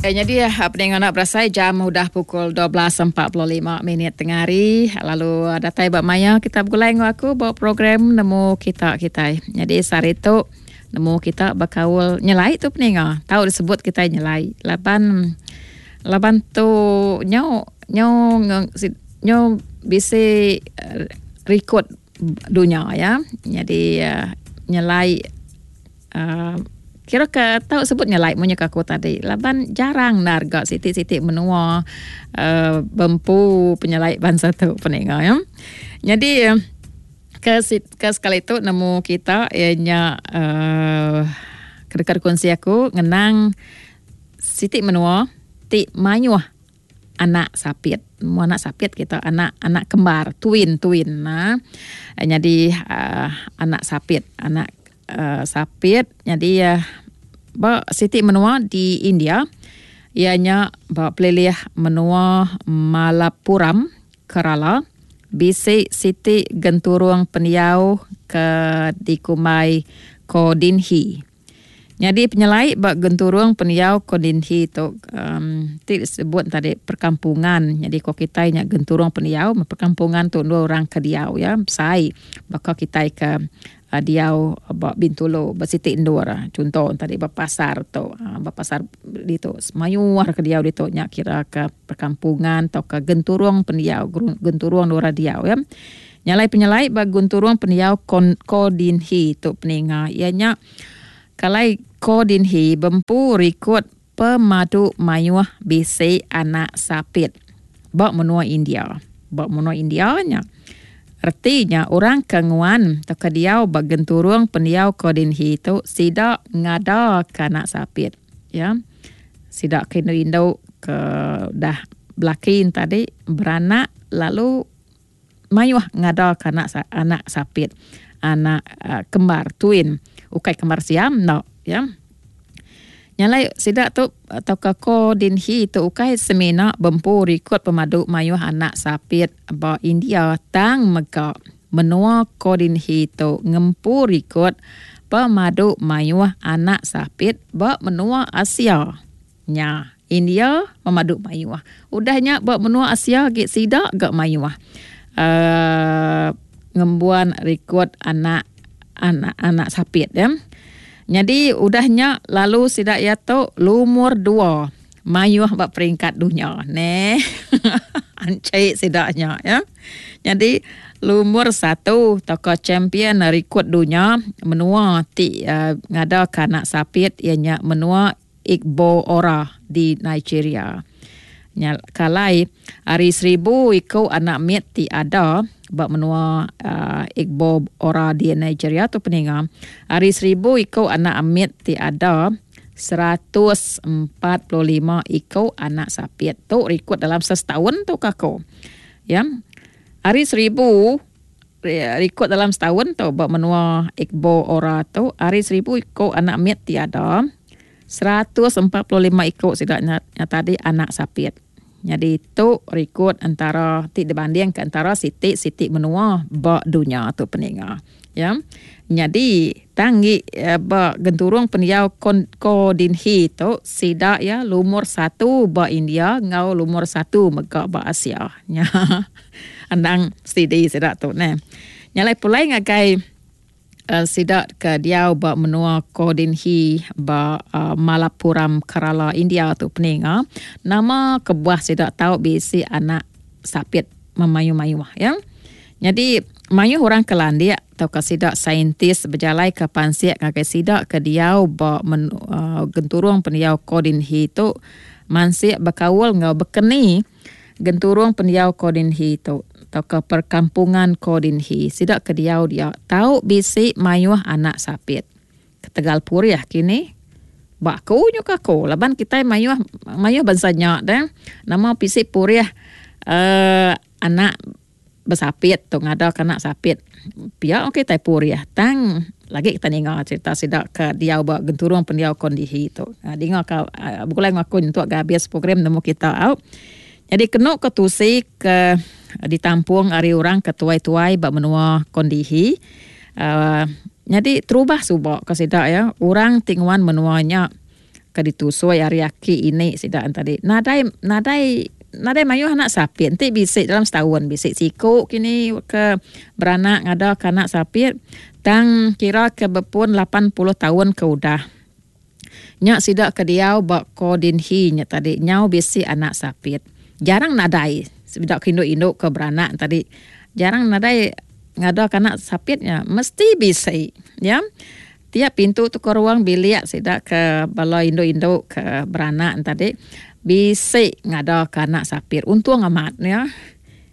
Nyadi peninga enda berasai jam udah pukul 12.45 minit tengah hari lalu datai ba maya kita begulai enggau aku ba program nemu kita kitai. Nyadi sehari tu nemu kita bekaul nyelai tu peninga tau disebut kitai nyelai laban laban tu nyau nyau nyau bisi rikod dunya ya. Nyadi nyelai. Uhh kira ke tau sebut nya lai munyi ke aku tadi laban jarang endar ga siti siti menua uhh bempu penyelai bansa tu peninga ya. Nyadi ke ke sekali tu nemu kita iya nya uhh ke deka dikongsi aku ngenang siti menua ti mayuh anak sapit. Nemu anak sapit kita anak anak kembar twin twin nah. Nyadi uhh anak sapit anak uhh sapit nyadi uhh ba siti menua di India iya nya ba pelilih menua Malappuram Kerala bisi siti genturung pendiau ke dikumbai Kodinhi. Nyadi penyelai ba genturung pendiau Kodinhi tu um ti disebut tadi perkampungan. Nyadi ko kitai nya genturung pendiau perkampungan tu endur orang ke diau iya besai baka kitai ke uhh diau ba Bintulu ba siti endur. Chunto tadi ba pasar tu uhh ba pasar ditu mayuh ke diau ditu nya kira ke perkampungan tauka genturung pendiau genturung endur orang diau iya. Nya alai penyelai ba genturung pendiau Kodinhi tu peninga iya nya kalai Kodinhi bempu rikod pemadu mayuh bisi anak sapit ba menua India. Ba menua India nya reti nya orang ke nguan tauka diau ba genturung pendiau Kodinhi tu sida ngadaka anak sapit ya. Sida ke indu-indu ke udah belaki ne tadi beranak lalu Mayuh ngadaka anak anak sapit, anak kembar, twin, ukai kembar siam enda ya. Nya alai sida tu tauka Ko Din Hee tu ukai semina bempu rikod pemadu mayuh anak sapit ba India tang mega menua Ko Din Hee tu ngempu rikod pemadu mayuh anak sapit ba menua Asia. Nya, India pemadu mayuh. Udah nya ba menua Asia agi sida ga mayuh uhh ngembuan rikod anak anak anak sapit ya. Nyadi udah nya lalu sida iya tu lumur dua mayuh ba peringkat dunya neh. Anchi sida nya ya. Nyadi lumur satu tauka champion rikod dunya menua ti ngadaka anak sapit iya nya menua Igbo Ora di Nigeria. Nya kalai ari seribu iku anak mit ti ada ba menua Igbo Ora di Nigeria tu peninga ari seribu iku anak mit ti ada 145 iku anak sapit. Tu rikod dalam sesetaun tu ka aku. Ya. Ari seribu Rikod dalam setaun tu ba menua Igbo Ora tu ari seribu iku anak mit ti ada, 145 iku sida nya tadi anak sapit. Nyadi tu rikod entara ti dibandingka entara siti-siti menua ba dunya tu peninga. Ya. Nyadi tang agi ba genturung pendiau Kodinhi tu sida iya lumur satu ba India enggau lumur satu mega ba Asia. Nya. Endang stidi sida tu neh. Nya alai pulai ngagai uhh sida ke diau ba menua Kodinhi ba uhh Malappuram Kerala India tu peninga nama kebuah sida tau bisi anak sapit memayuh-mayuh ya. Nyadi mayuh orang ke landik tauka sida saintis bejalaika pansik ngagai sida ke diau ba menu uhh genturung pendiau Kodinhi tu mansik bekaul enggau bekeni Genturung pendiau Kodinhi tu tauka perkampungan Kodinhi sida ke diau dia tau bisi mayuh anak sapit. Ketegal purih kini ba aku nyuka aku laban kitai mayuh mayuh bansa nya deh nama bisi purih uhh anak besapit tu ngada ke anak sapit pia kitai purih tang lagi kitai ninga cerita sida ke diau ba genturung pendiau kondihi tu. Dinga ka begulai enggau aku nyentuk ga abis program nemu kita au. Nyadi kenu ke tusi ke ditampung ari orang ke tuai-tuai ba menua kondihi uhh nyadi terubah suba ke sida iya orang ti nguan menua nya. Ke ditusui ari aki ini sida tadi nadai nadai nadai mayuh anak sapit enti bisi dalam setaun bisi siku kini ke beranak ngada ke anak sapit tang kira ke bepun 80 taun ke udah nya sida ke diau ba Kodinhi nya tadi nyau bisi anak sapit jarang nadai sida ke indu indu ke beranak tadi jarang nadai ngada ke anak sapit nya mesti bisi ya. Tiap pintu tu ke ruang bilik sida ke bala indu-indu ke beranak ne tadi bisi ngada ke anak sapit. Untung amat ya.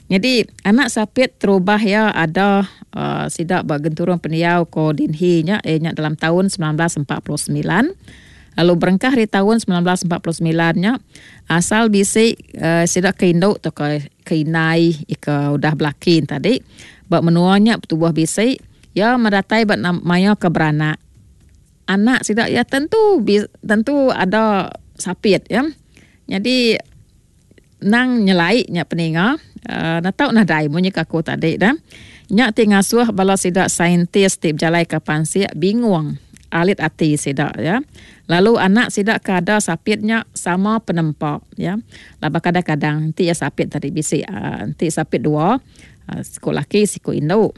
Nyadi anak sapit terubah iya ada uhh sida ba genturung pendiau ko Dinhi nya iya nya dalam taun 1949 lalu berengkah ari taun 1949 nya asal bisi uhh sida ke indu tauka ke indai ke udah belaki ne tadi ba menua nya betubuh bisi. Iya medatai ba maya ke beranak. Anak sida iya tentu tentu ada sapit ya. Nyadi nang nyelai nya peninga uhh enda tau nadai munyi ke aku tadi dah. Nya ti ngasuh bala sida saintis ti bejalaika pansik bingung alit ati sida ya. Lalu anak sida ke ada sapit nya sama penempa ya. Laban kadang-kadang enti iya sapit tadi bisi uhh enti sapit dua siku laki siku indu.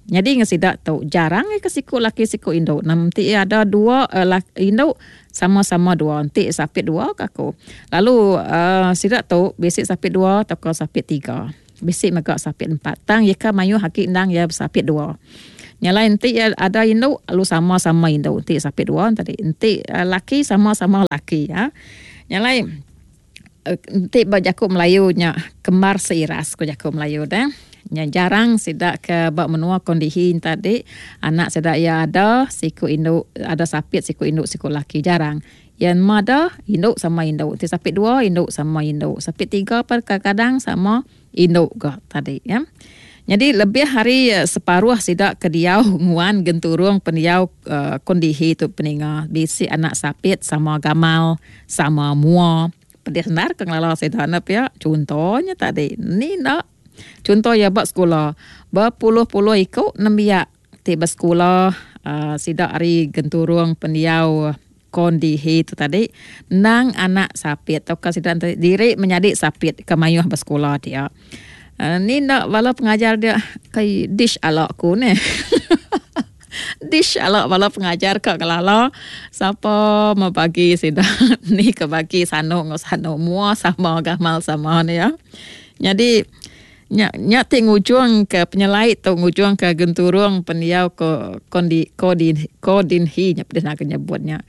Nyadi ngan sida tu jarang iya ke siku laki siku indu. Nam enti iya ada dua indu sama-sama dua enti sapit dua ka aku. Lalu uhh sida tu bisi sapit dua tauka sapit tiga. Bisi mega sapit empat tang iya ka mayuh agi endang iya besapit dua. Nya alai enti iya ada indu lalu sama-sama indu enti sapit dua tadi. Enti laki sama-sama laki. Nya alai Enti ba jaku Melayu nya kembar seiras ku jaku Melayu deh. Nya jarang sida ke ba menua Kondihi enta ti anak sida iya ada siku indu ada sapit siku indu siku laki jarang. Iya nema ada indu sama indu. Enti sapit dua indu sama indu. Sapit tiga pun kadang-kadang sama indu ga tadi ya. Nyadi lebih ari separuh sida ke diau nguan genturung pendiau Kondihi tu peninga bisi anak sapit sama gamal sama mua. Pedih endar ke ngelala sida ne pia chunto nya tadi ni enda. Chunto iya ba sekula bepuluh-puluh iku nembiak ti besekula sida ari genturung pendiau Kondihi tu tadi endang anak sapit tauka sida enti diri menyadi sapit ke mayuh besekula dia. Ni enda bala pengajar dia kai dish ala ku neh. Dish ala bala pengajar ka ngelala sapa meh bagi sida ni ke bagi sanu enggau sanu mua sama gamal sama ne ya. Nyadi Nya nya ti ngujungka penyelai tu ngujungka genturung pendiau ko kondi kodin kodinhi nya pedih naga nyebut nya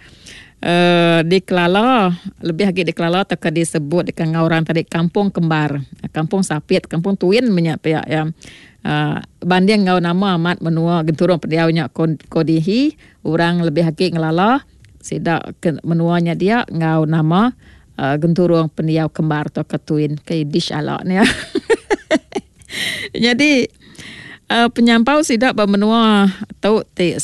uhh dikelala lebih agi dikelala tauka disebut deka enggau orang tadi kampung kembar kampung sapit kampung tuin meh nya pia iya uhh banding enggau nama amat menua genturung pendiau nya kodihi orang lebih agi ngelala sida ke menua nya dia enggau nama Genturung pendiau kembar tauka twin ke dish ala nya. Nyadi penyampau sida ba menua tu ti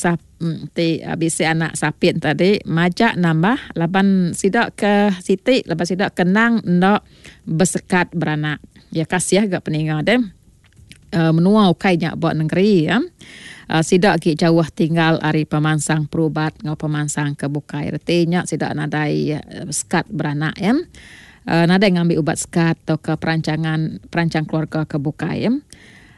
ti bisi anak sapit tadi majak nambah laban sida ke siti laban sida ke endang enda besekat beranak. Ya kasih ga peninga deh. Menua ukai nya ba nengeri iya. Sida agi jauh tinggal ari pemansang perubat enggau pemansang ke bukai. Reti nya sida nadai sekat beranak iya. Nadai ngambi ubat sekat tauka perancangan perancang keluarga ke bukai iya.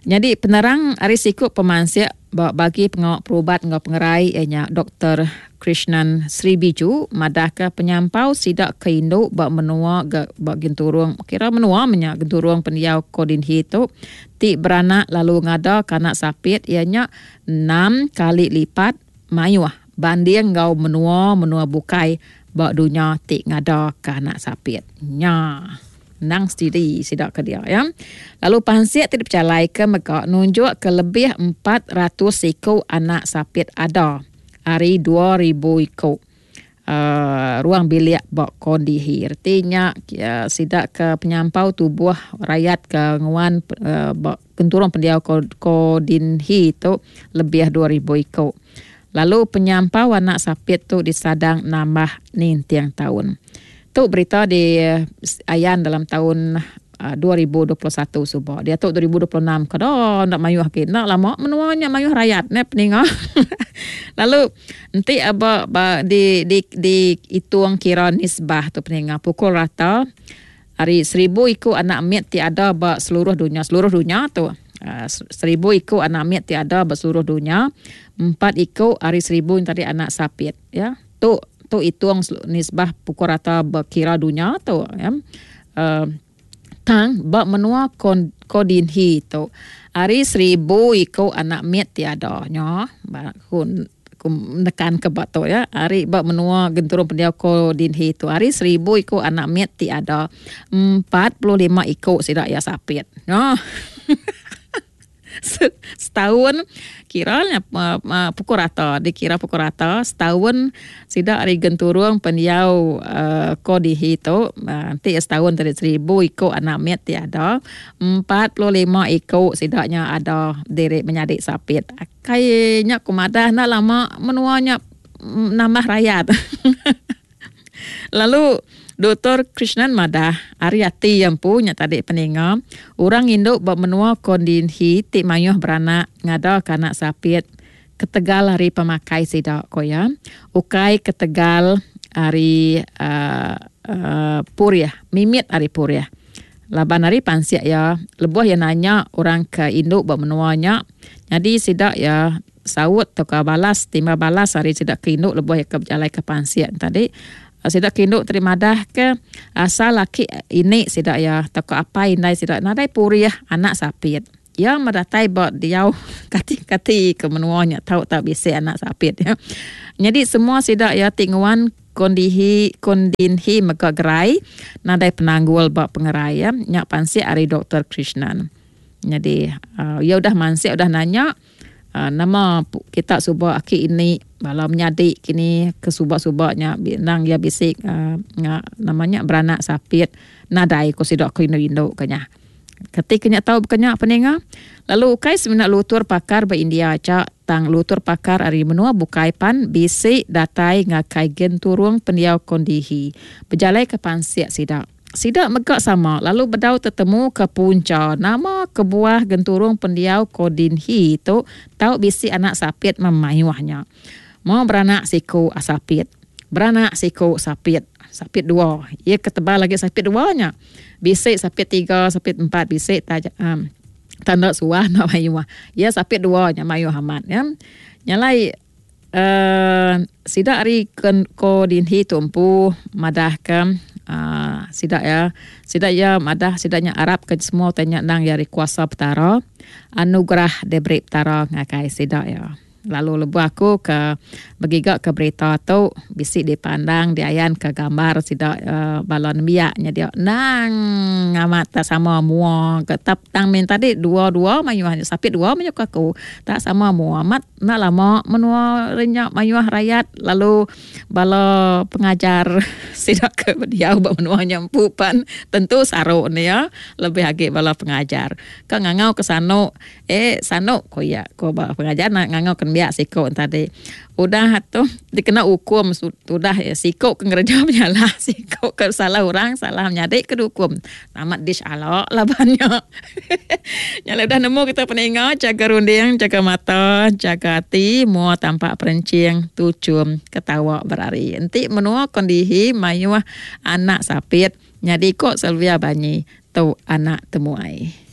Nyadi penerang ari siku pemansik ba bagi pengawa perubat enggau pengerai iya nya Doktor Krishnan Sribiju madahka penyampau sida ke indu ba menua ga ba genturung kira menua meh nya genturung pendiau Kodinhi tu ti beranak lalu ngadaka anak sapit iya nya enam kali lipat mayuh banding enggau menua-menua bukai ba dunya ti ngadaka anak sapit nya. Endang setidi sida ke dia ya. Lalu pansik ti dipejalaika mega nunjukka lebih 400 iku anak sapit ada ari 2000 iku uhh ruang bilik ba Kondihi. Reti nya sida ke penyampau tubuh rayat ke nguan uhh ba genturung pendiau Kodinhi tu lebih 2000 iku. Lalu penyampau anak sapit tu disadang nambah ninting taun. Tu berita di ayan dalam taun. 2021 suba. Diatu 2026 kada enda mayuh agi. Enda lama menua nya mayuh rayat neh peninga. Lalu enti aba ba di di di itung kira nisbah tu peninga pukul rata ari seribu iku anak mit ti ada ba seluruh dunya seluruh dunya tu aaa seribu iku anak mit ti ada ba seluruh dunya empat iku ari seribu nya tadi anak sapit ya. Tu tu itung nisbah pukul rata ba kira dunya tu ya. Aaa tang ba menua Kodinhi tu ari seribu iku anak mit ti ada nya ba ku ku nekan ke ba tu ya ari ba menua genturung pendiau Kodinhi tu ari seribu iku anak mit ti ada 45 iku sida iya sapit. Nyo. Setaun kira nya pukul rata dikira pukul rata setaun sida ari genturung pendiau uhh Kodihi tu enti setaun tadi seribu iku anak mit ti ada 45 iku sida nya ada diri menyadi sapit. Kai nya ku madah enda lama menua nya nambah rayat. Lalu Doktor Krishnan madah, ari ati iya empu nya tadi peninga, orang indu ba menua Kondinhi ti mayuh beranak ngadaka anak sapit ketegal ari pemakai sida, ku iya, ukai ketegal ari uhh purih, mimit ari purih. Laban ari pansik iya, lebuh iya nanya orang ke indu ba menua nya, nyadi sida iya Saut tauka balas timbal balas ari sida ke indu lebuh iya ke bejalaika pansik ne tadi. Sida ke indu tadi madahka asal aki ini sida iya tauka apai indai sida nadai purih anak sapit. Iya meh datai ba diau kati-kati ke menua nya tau tau bisi anak sapit iya. Nyadi semua sida iya ti nguan kondihi kondinhi mega gerai nadai penanggul ba pengerai iya. Nya pansik ari Doktor Krishnan. Nyadi iya udah mansik udah nanya. Nama kita suba aki ini bala menyadi kini ke suba-suba nya endang iya bisi nama nya beranak sapit nadai ku sida ke indu-indu ke nya. Keti ke nya tau baka nya peninga lalu ukai semina lutur pakar ba India aja tang lutur pakar ari menua bukai pan bisi datai ngagai genturung pendiau Kondihi bejalaika pansik sida. Sida mega sama lalu bedau tetemuka puncha nama kebuah genturung pendiau Kodinhi tu tau bisi anak sapit memayuh nya. Mo beranak siku asapit. Beranak siku sapit. Sapit dua. Iya ke tebal agi sapit dua nya. Bisi sapit tiga, sapit empat bisi taja um tanda suah enda mayuh. Iya sapit dua nya mayuh amat ya. Nya alai uhh sida ari Kodinhi tu empu madahka uhh sida iya sida iya madah sida nya arapka semua utai nya endang iya ari kuasa Petara anugerah diberi Petara ngagai sida iya. Lalu lebuh aku ke begiga ke berita tu bisi dipandang diayanka gambar sida uhh bala nembiak nya dia endang amat tak sama mua ke tang min tadi dua-dua mayuh sapit dua mayuh ke aku tak sama mua amat. Enda lama menua re nya mayuh rayat lalu bala pengajar sida ke diau ba menua nya empu pan tentu saru ne iya lebih agi bala pengajar. Ka ngangau ke sanu eh sanu ku iya ku ba pengajar ne ngangau ke nembiak siku ne tadi. Udah tu dikena ukum tudah iya siku ke ngereja penyalah siku ke salah orang salah menyadi ke diukum. Amat dish alo laban nya. Nya alai udah nemu kita peninga jaga runding, jaga mata, jaga ati, mua tampak perenching, tuchum, ketawa berari. Enti menua kondihi mayuh anak sapit nyadi ko Sylvia Banyi tu anak temuai.